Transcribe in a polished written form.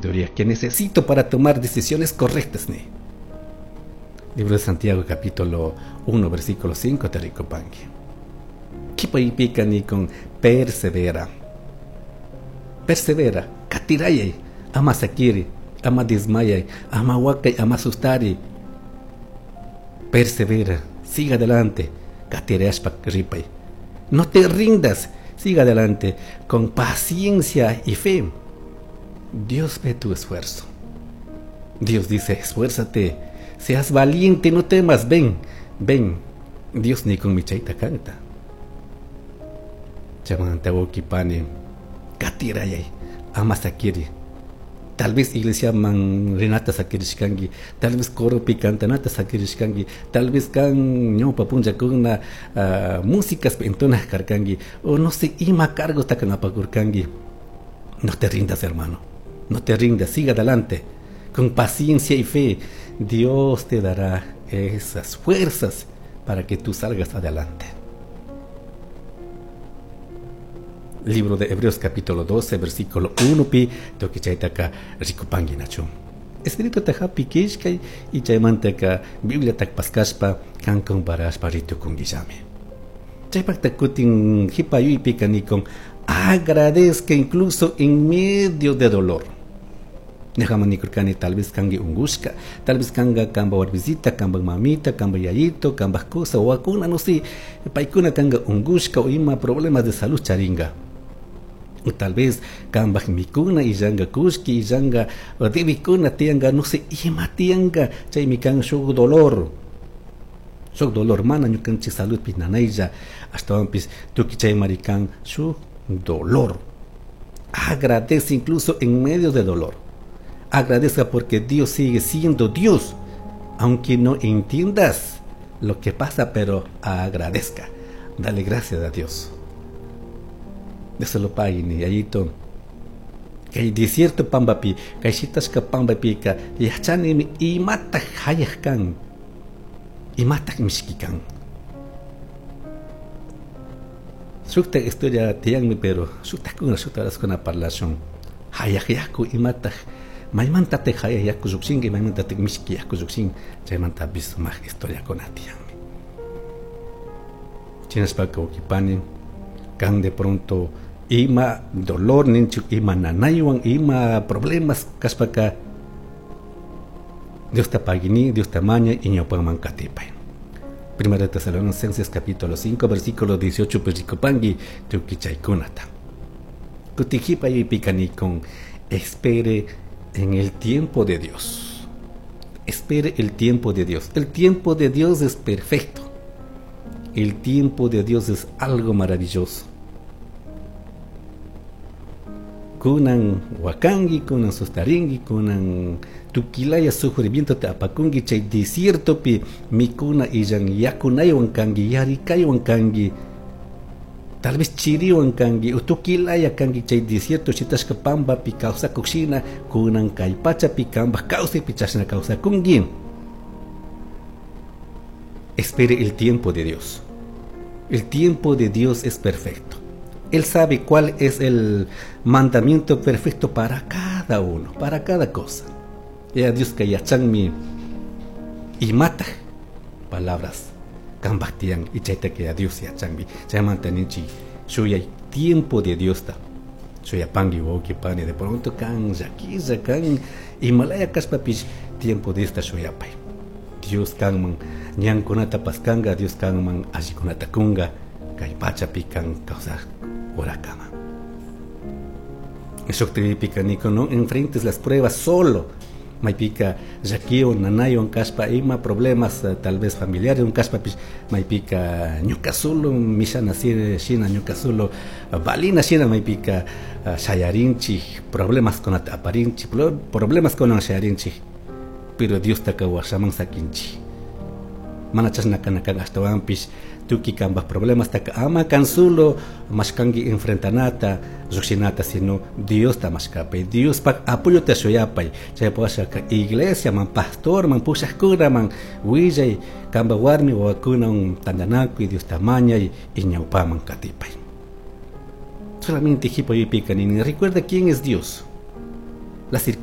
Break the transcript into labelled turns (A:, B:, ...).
A: Sabiduría que necesito para tomar decisiones correctas ni. Libro de Santiago capítulo 1 versículo 5 te rikupanki. Kipaypika nikun persevera. Persevera, katirayay, ama sakiri, ama desmayay, ama wakay, ama sustari. Persevera, siga adelante, katirayashpa ripay. No te rindas, siga adelante con paciencia y fe. Dios ve tu esfuerzo. Dios dice, esfuérzate, seas valiente, no temas, ven, ven. Dios ni con mi chaita canta. Chamanta pani, katirayay, ama sakiri. Tal vez iglesia man rinata sakirishkanki, tal vez coropi cantanata sakirishkanki, tal vez kan ñawpa punllakuna músicas entonaj karkanki, o no sé, ima cargos takan apakurkanki. No te rindas, hermano, no te rindas, siga adelante, con paciencia y fe. Dios te dará esas fuerzas para que tú salgas adelante. Libro de Hebreos capítulo 12 versículo 1 pi tukichaytaka rikupanki nachu. Espíritu tahapi kishkay y chaymantaka Biblia tak paskashpa kan comparashpa ritukunkillami. Chaypakta kutin hipayuypika nikun agradezca incluso en medio de dolor. Ñajaman nikurkani tal vez kanki ungushka, tal vez kanga kamba warbisita, kamba mamita, kamba yayito, kamba cosa o akuna, no sé, paykuna kanga ungushka o ima problemas de salud charinga. O tal vez kamba mikuna illanga kushki, illanga debikuna tianga, no sé, ima tianga, chaymi kan shuk dolor. Shuk dolor mana ñukanchik salud pi nanaylla, ashtawanpis tukuy chaymari kan shuk dolor. Agradece incluso en medio de dolor. Agradezca porque Dios sigue siendo Dios, aunque no entiendas lo que pasa, pero agradezca. Dale gracias a Dios. Dios se lo pague, ni yayito. Kay desierto pambapi, kay shitashka pambapika, yachanimi imataq hayaq kan, imataq mishki kan. Shukta historia tiyanmi, pero shuktakuna, shuktarasuna parlashun. Hayaq yaku imataq, maymantataq hayaq yaku lluqshinki, maymantataq mishki yaku lluqshin, chaymantapis sumaq historiakuna tiyanmi. Chinashpaka wawqipani, kan de pronto ima dolor ninchik, ima nanaywan, ima problemas kashpaka, Dios ta pagini, Dios ta maña y ñawpanman katipay. Primera de Tesalonicenses capítulo 5 versículo 18 pues rikupanki tukuy chaykunata. Kutijipa y pikani con espere en el tiempo de Dios. Espere el tiempo de Dios. El tiempo de Dios es perfecto. El tiempo de Dios es algo maravilloso. Kunan wakangi, kunan sustaringi, kunan tukilaya sufrimiento te apakungi, chay desierto pi mikuna illan yakunaywan kangi, yarikaywan kangi, tal vez chiriwan kangi, o tukilaya kangi, chay desierto shitashka pamba pi kawsakuqshina, kunan kay pacha pi kamba kawsay pi chashna kawsakungi. Espere el tiempo de Dios. El tiempo de Dios es perfecto. Él sabe cuál es el mandamiento perfecto para cada uno, para cada cosa. Ya Dios que yachanmi y mata palabras kambaktian y chayta que a Dios yachanmi. Chaymantanichi shuyay tiempo de Dios ta. Shuyapangi wawqi pani de pronto kan llakilla kan Himalaya kashpapish tiempo de esta shuyapay. Dios kanman ñankunata paskanqa, Dios kanman allikunata kunqa, kay pachapi kan kawsaq urakama. Shuktipica niko, no enfrentes las pruebas solo. Maypika llakiwan, nanaywan kashpa ima problemas tal vez familiares un kashpapish maypika ñuka solo mishana shina ñuka solo valina shina maypika shayarinchik problemas kunata aparinchik problemas kunan shayarinchik, pero Dios taka washaman sakinchik. Mana chashna kana kan ashtawanpish tukuy kanpaj problemas taka ama kan solo mashkanki enfrentanata lluqshinata, sino Diosta mashkapay, Diospaj apoyota shuyapay. Chaypawashaka iglesia man, pastor man, pushaqkuna man willay kanpaj warmi wawakunawan tantanakuy, Diosta mañay y ñawpaman katipay. Solamente hipayupika nini, recuerda quién es Dios. Las circunstancias